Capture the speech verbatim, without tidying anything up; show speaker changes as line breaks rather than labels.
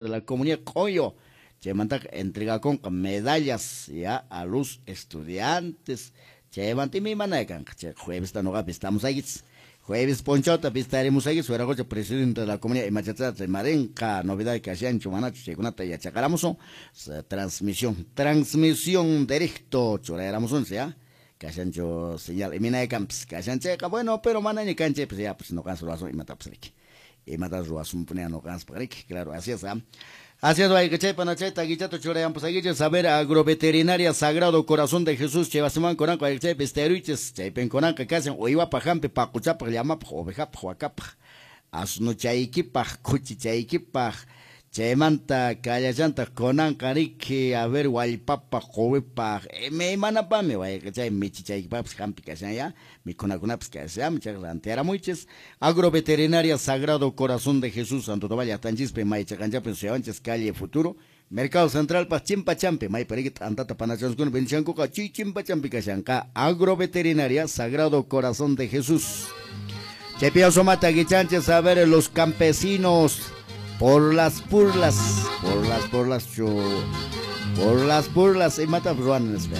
De la comunidad Q'uyo. Chaymantaqa entregakunqa medallas ya a los estudiantes. Chaymanta imaymana kanqa. Chay juevesta nuqapi estamusaykichis. Jueves p'unchawta vistarimusaykichis wiraqocha presidente de la comunidad imachachata rimarinqa, novedad kashanchu manachu chaykunata yachaqaramusun. Transmisión, transmisión directo churayaramusunchis ya. Kashanchu señal iminay kanpis kashan chayqa bueno, pero manaña kanchaypis ya pues nuqanchis ruwasun imatapas riki. Imata ruwasunpuni nuqanchispaq riki, claro, así es, ¿ah? Así es, wayqechaypa nachayta guichato churayampusakichis, a ver, agroveterinaria Sagrado Corazón de Jesús, chay wasiman kunanqa wayqechaypa esteruichis, chaypin kunanqa kashan uywapaq hampi, paquchapaq, llamapaq, ovejapaq, wakapaq, asnuchaykipaq, khuchichaykipaq, chaymanta kallachantaq kunanqa riki, a ver, wallpapaq, quwipaq, imaymanapami wayqechay michichaykipaqpis hampi kashan ya, mikhunakunapis kashan, chay rantiaramuychis. Agroveterinaria Sagrado Corazón de Jesús, Santo Tomás llaqtanchispi, maychaqanchapin suyawanchis, calle Futuro, Mercado Central pa chimpachampi, maypi riki t'antata panachanskuna vendishankuqa, chay chimpachampi kashanqa Agroveterinaria Sagrado Corazón de Jesús. Chaypi sumata guichanchis, a ver, los campesinos por las burlas, por las burlas, chu, por las burlas, imata ruwan nispa.